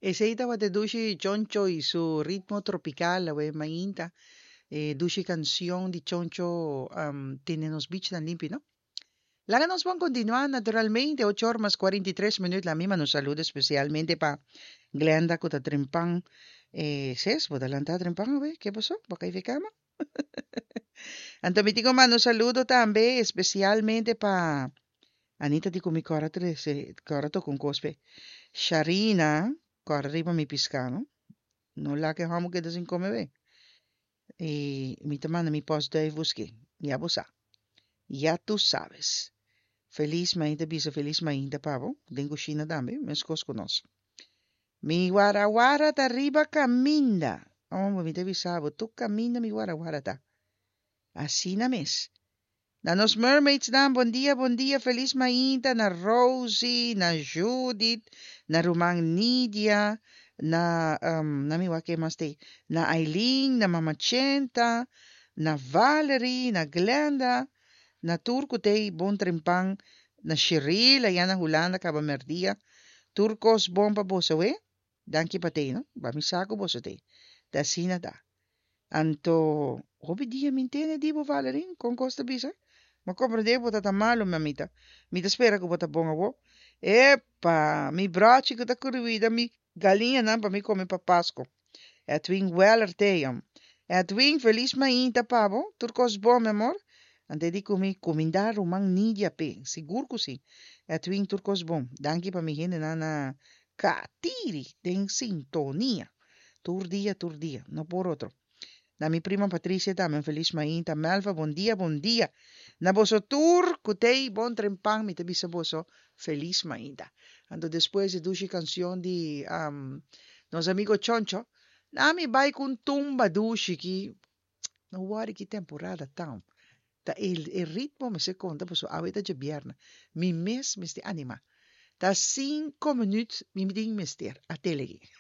Esey tabata dushi Choncho y su ritmo tropical awe mainta. E dushi cancion di Choncho tene nos beachnan limpi, no? Laga nos bon continua naturalmente, ocho or mas 43 minuut. La mi manda un saludo especialmente pa Glenda cu ta trempan. Ses, bo ta lanta trempan awe? Ke paso? Bo a cay fe cama? Anto mi tin cu manda un saludo tambe especialmente pa Anita di cu mi cora trece, cora toca un cos p'e. Sharina, cora riba mi pisca, no? No laga e homo keda sin come be. Y mi ta manda mi postduif busque. Ya bo sa. Ya tu sabes. Feliz mainta bisa feliz mainta pa bo. Den cushina tambe, mescos cu nos. Mi warawara ta riba caminda. Homber, mi ta bisa bo, tur caminda mi warawara ta. Asina mes. Na nos mermaidsnan bon dia bon dia felis mainta na Rosie na Judith na ruman Nidia na na mi wak ken mas t'ei na Aileen na mama Chenta na Valerie na Glenda na tur ku t'ei bon trempan na Sheril aya na Hulanda kaba merdia tur kos bon pa boso awe danki pa t'ei no ba mi sa ku boso t'ei ta asina ta. Anto, hopi dia mi ntende di bo, Valerie, kon kos ta bisa? M'a komprendé ku bo ta ta malu, mamita. Mi ta spera ku bo ta bon awor. Epa! Mi brochi ku ta kuruida mi galiñanan pa mi kome pa Pasko. Edwin Weller t'e, Edwin, felis mainta pa bo. Tur kos bon, mi amor? Ante di ku mi kumindá ruman Nidia p'e. Sigur ku si. Edwin, tur kos bon. Danki pa mi hendenan na Katiri den sintonia. Tur dia, tur dia, no por otro. Na mi prima Patricia tambe un felis mainta. Melva, bon dia, bon dia. Na boso tur ku t'ei bon trempan mi ta bisa boso felis mainta. Anto despues di dushi cancion di nos amigo Choncho, na mi bai ku un tumba dushi ki no wòri ki temporada ta. Ta e e ritmo mester konta pasobra awe ta djabièrnè. Mi mes mester animá. Ta sinko minüt mi tin mester a tele aki.